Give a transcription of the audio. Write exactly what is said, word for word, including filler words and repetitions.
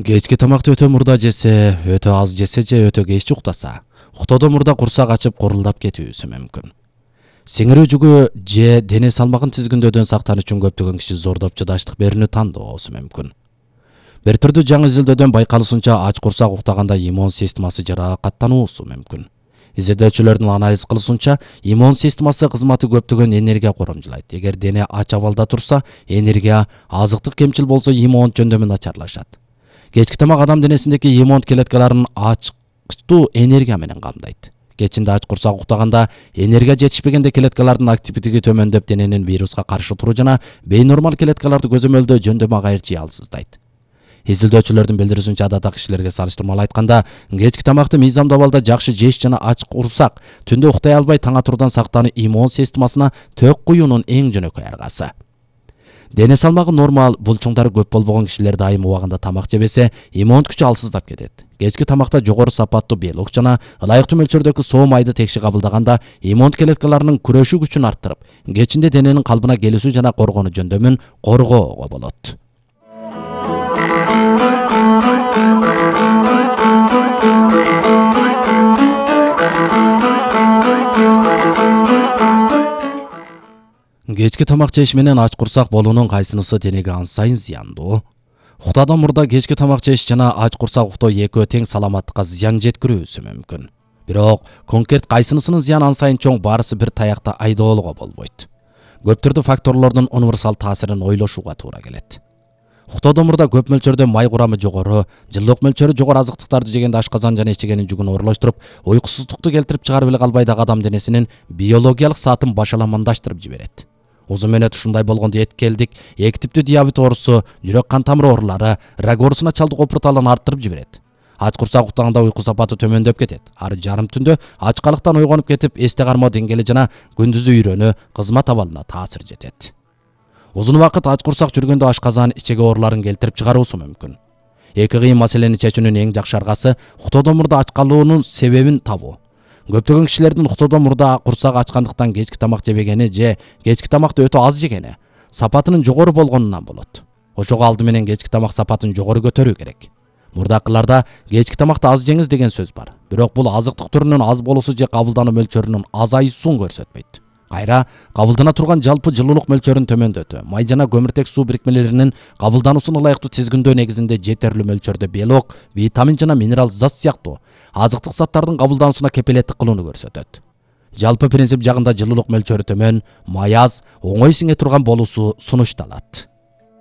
Кечки тамакты өтө мурда жесе, өтө аз жесе же өтө кеч уктаса, уктоодон мурда курсак ачып курулдап кетүүсү мүмкүн. Сиңирүү жүгү же дене салмагын тизгиндөөдөн сактан үчүн көптөгөн киши зордоп чыдаштык берүүнү тандоосу мүмкүн. Бир түрдүү жаңы изилдөөдөн байкалышынча, ач курсак уктаганда иммун системасы жаракаттануусу мүмкүн. Изилдөөчүлөрдүн анализ кылышынча, иммун системасы кызматы көптөгөн энергия коромжулайт. Эгер дене ач абалда турса, энергия, азыктык кемчил болсо иммун жөндөмү начарлашат. Кечки тамак адам денесиндеги иммун клеткаларын ачкычтуу энергия менен камдайт. Кечинде ач курсак уктаганда энергия жетишпегенде клеткалардын активдиги төмөндөп, дененин вируска каршы туруу жана бейнормал клеткаларды көзөмөлдөө жөндөмү агайыр жыялсыздайт. Изилдөөчүлөрдүн билдирүүсүнчө, адатта кишилерге салыштырмалуу айтканда, кечки тамакты мыйзамдуу абалда жакшы жеш жана ач курсак түндө уктай албай таң атуудан сактануу иммун системасына төк куюунун эң жөнөкөй аргасы. Дене салмагы нормал, булчуңдары көп болбогон кишилер дайым убагында тамак жебесе, иммун күчү алсыздап кетет. Кечки тамакта жогору сапаттуу белок жана ылайыктуу мөлчөрдөгү соо майды текши кабылдаганда, иммун клеткаларынын күрөшүү күчүн арттырып, кечинде дененин калыбына келүүсү жана коргонуу жөндөмүн коргоого болот. Кечки тамак жеш менен ач курсак болуунун кайсынысы денеге анча сайын зыяндуу? Уктоодон мурда кечки тамак жеш жана ач курсак уктоо экөө тең саламаттыкка зыян жеткирүүсү мүмкүн. Бирок конкрет кайсынысынын зыяны анча сайын чоң, баарысы бир таякта айдоолуга болбойт. Көп түрдүү факторлордун универсал таасирин ойлошууга туура келет. Уктоодон мурда көп мөлчөрдө май курамы жогору, жылдык мөлчөрү жогору азыктыктарды жегенде ашказан жана ичегенин жүгүн оорлоштуруп, уйкусуздукту келтирип чыгарып эле калбай дагы адам денесинин биологиялык саатын башаламандаштырып жиберет. Узун мөөнөт ушундай болгондо эткелдик, эки типтүү диабет оорусу, жүрөк кан тамыры оорулары, рак оорусуна чалдык опурталын арттырып жиберет. Ач курсак уктаганда уйку сапаты төмөндөп кетет. Ары жарым түндө ачкалыктан ойгонуп кетип, эсте кармоо деңгээли жана күндүзү үйрөнүү, кызмат абалына таасир жетет. Узун убакыт ач курсак жүргөндө ашказан, ичеге ооруларын келтирип чыгаруусу мүмкүн. Эки кыйын маселени чечүүнүн эң жакшы аргасы уктоодон мурда ач калуунун себебин табуу. Көптөгөн кишилердин уктоодон мурда курсак ачкандыктан кечки тамак жебегени же кечки тамакты өтө аз жегени сапатынын жогору болгонунан болот. Ошого алды менен кечки тамак сапатын жогору көтөрүү керек. Мурдакыларда кечки тамакты аз жеңиз деген сөз бар. Бирок бул азыктык түрүнүн аз болуусу же кабылдануу мөлчөрүнүн азайуусун көрсөтпөйт. Кайра кабылдана турган жалпы жылуулук мөлчөрүн төмөндөтүү, май жана көмүртек суу бирикмелеринин кабылдануусун ылайыктуу тизгиндөө негизинде жетерлүү мөлчөрдө белок, витамин жана минерал зат сыяктуу азыктык заттардын кабылдануусуна кепилеттик кылууну көрсөтөт. Жалпы принцип жагында жылуулук мөлчөрү төмөн, май аз, оңой сиңе турган болуусу сунушталат.